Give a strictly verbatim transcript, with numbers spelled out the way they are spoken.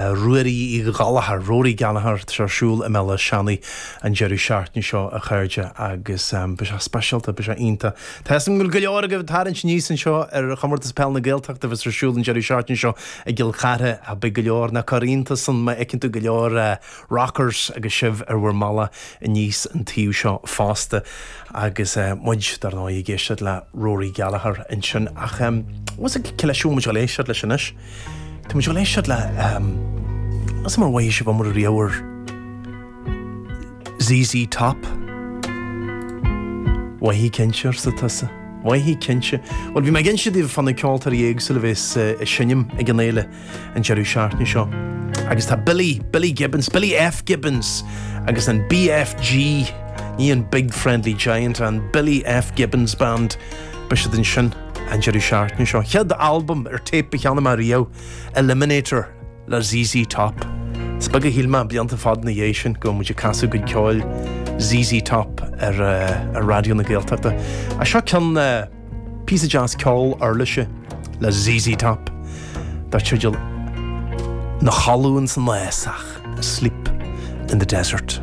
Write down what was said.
Ruairí Uí Ghallchóir, Rory Gallagher, tá sé ar siúl i mBéal Átha Seanaidh an deireadh seachtaine seo, a chairde, agus beidh sé speisialta, beidh sé iontach. Tá a fhios agam go bhfuil go leor agaibh ag tarraingt aníos anseo ar Chomórtas Peile na Gaeltachta a bheas ar siúl an deireadh seachtaine seo i gCill Chartha. Beidh go leor nach iontas san má fheiceann tú go leor rockers agus sibh ar bhur mbealach aníos an taobh seo fosta agus muid, dar ndóigh, ag éisteacht le Rory Gallagher ansin. Ach bhfuil a fhios agat cé leis a bhfuil muid ag dul éisteacht leis anois? Tá muid ag dul éisteacht le Is mar mhaith sibh iomrá riamh ar Z Z Top. Mhaithfidh cinnte, arsa tusa. Mhaithfidh cinnte. Bhuel, bhí mé ag inse daoibh fá na ceoltóirí éagsúla a bheas ag seinm ag an fhéile an deireadh seachtaine seo. Agus tá Billy, Billy Gibbons, Billy F Gibbons agus an B F G, ní an Big Friendly Giant, an Billy F Gibbons Band, beidh siad ansin an deireadh seachtaine seo. Chéad albam ar téip a cheannaigh mé riamh, Eliminator le Z Z Top. Is beag a shíl mé blianta fada ina dhiaidh sin go muid ag casadh go ceoil Z Z Top ar, uh, ar Raidió na Gaeltachta. A seo ceann uh, píosa deas ceol uirlise le Z Z Top dar teideal Ina Chodladh san Fhásach, Asleep in the Desert.